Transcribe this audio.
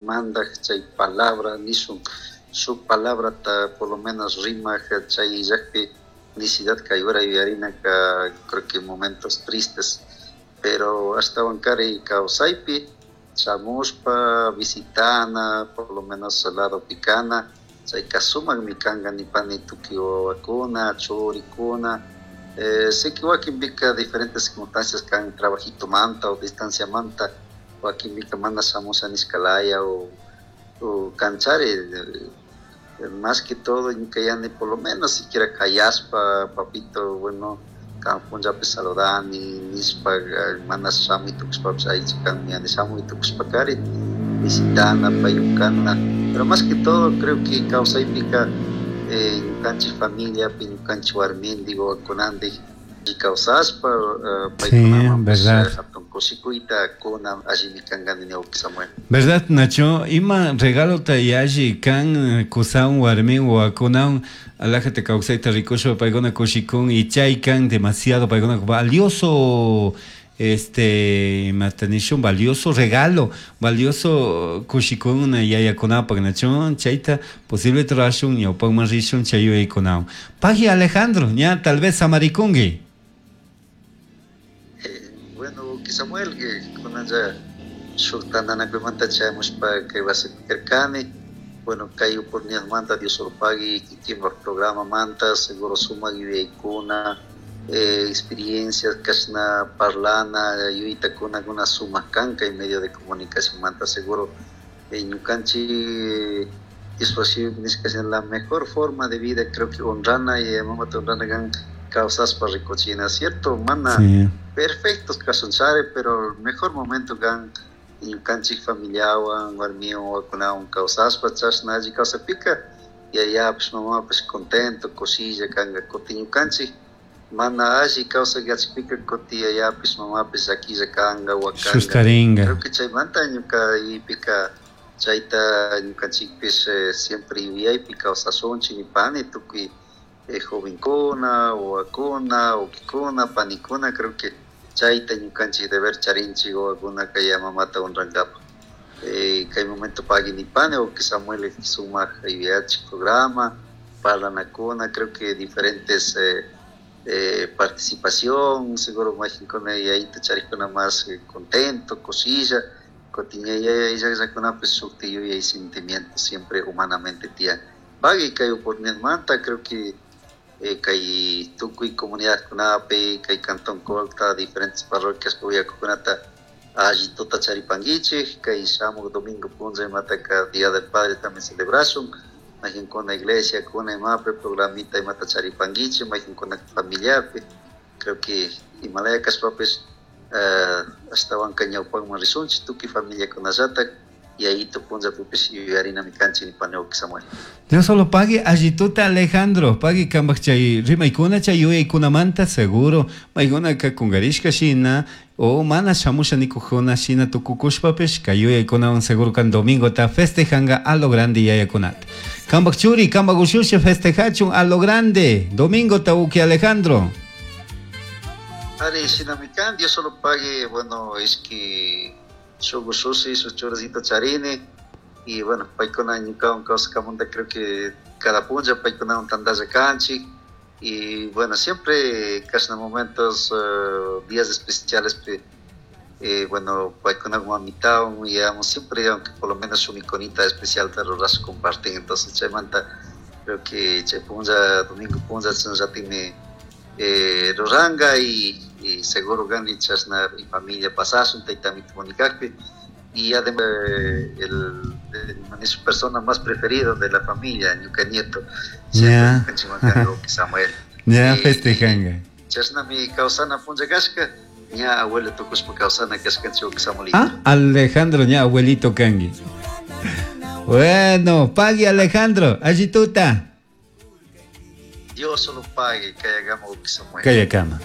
Mandaj chay palabra nishun shuk palabrata por lo menos rimaj chay illakpi necesidad kay hora yuyarinaka, creo que momentos tristes, pero ashtawankari kawsaypi shamushpa visitana, por lo menos ladopi kana, chayka sumakmi kanka nipani tukuy wawakuna, churikuna. Sé que wakinpika diferentes circunstancias kan, trabajitomanta o distanciamanta, wakinpika mana shamusha nishkalaya o kanchari. Más que todo ñuka yani por lo menos siquiera kayashpa, "Papito, bueno, kan punllapi saludani" nishpa, mana shamuy tukushpapish aycha kanmi yani shamuy tukushpakari visitana, payukana. Pero más que todo creo que kawsaypika ñukanchik familiapi, ñukanchik warmindik, wawakunandik kawsashpa paykunamanpish hatun kushikuyta kuna allimi kanka nini, Samuel. ¿Verdad, Nacho? Ima regalota yalli kan kusawan warmin wawakunawan alajata kawsayta rikushpa paykuna kushikun y chay kan demasiado paykuna valioso, imata nishun, valioso regalo, valioso kushikuna yayakunapak, Nacho. Chayta posible rurashun, ñawpakman rishun chay yuyaykunawan. Pagui, Alejandro, ña tal vez samarikunki. Bueno, Samuel, kunanlla shuk tantanakuymanta chayamushpa kay wasipi karkani. Bueno, kay oportunidadmanta Dios solo pagui, kikinpak programamanta, seguro sumak yuyaykuna, experiencias kashna parlana, yuyaytakuna sumak kan kay medio de comunicación manta. Seguro ñukanchik Diospa nishka la mejor forma de vida, creo que honrana y mamata honrana kan kawsashpa rikuchina, cierto, mana perfectos kashunchari, pero el mejor momento kan ñukanchik familiawan, warmiwan, wawakunawan kawsashpa. Chashna alli kawsapika yayapish, mamapish contento, kushilla kanka. Kutin ñukanchik mana alli kawsay yachakpika kutin yayapish, mamapish llaquilla kanka, wakanka. Sustaringa. Creo que chaymanta ñuka yuyaypika chayta ñukanchikpish siempre yuyaypi kawsashunchik nipani tukuy jovenkuna, wawakuna, wawkikuna, panikuna. Creo que chayta ñukanchik deber charinchik wawakunaka yaya mamata honrankapak. Kay momento pagui nipani, wawki Samuel, sumak yuyachik programa, parlanakuna, creo que diferentes participación, seguro mayqinkuna yayita charikuna más contento, kushilla, kutin yaya llakllakunapish shukti yuyay, sentimiento siempre humanamente tiyan. Pagui kay oportunidadmanta. Creo que kay tukuy comunidadkunapi, kay Cantón Colta, diferentes parroquias uyakukunata alli tuta charipanguichik. Kay shamuk domingo punlla imataka Día del Padre también celebrashun, mayqinkuna iglesia kuna imapi programita imata charipanguichik, mayqinkuna familiarpi. Creo que imalaya kashpapish ashtawanka ñawpakman rishunchik tukuy familiakunallatak, yayito punllapipish yuyarinami kanchik nipani, Samuel. Dios solo pagui, allituta, Alejandro, pagui kambak chay rimaykuna, chay yuyaykunamanta. Seguro maykunaka kungarishka shina o mana shamusha nikujuna shina tukukushpapish kay yuyaykunawan seguro kan domingota festejanga a lo grande yayakunata. Kambak churi, kambak ushushi festejachun a lo grande domingota, uki Alejandro. Ari, shinami kan, Dios solo pague. Bueno, es que shuk ushushi, shuk churisito charini y bueno, paykuna ñukawan kawsakamunta creo que cada punlla paykunawan tantalla kanchik y bueno, siempre kashna momentos, días especiales, bueno, paykunawan mamitawan yayamos siempre, aunque por lo menos shuk mikunita especial ta rurash comparten. Entonces chaymanta creo que chay punlla, domingo punlla, chashnallatimi ruranka y seguro gani chashna y familia pasashun taytamito Monicakpi y además el es su persona más preferida de la familia, ñuka nieto. Samuel. Ya festejanga. Chashnami kawsana punlla kashka, ña abuelo tukushpa kawsana kashkanchik, Samuelito. Ah, Alejandro, ña abuelito kanki. Bueno, pagui, Alejandro, allituta. Dios solo pague, kayakama, Samuel. Kayakama.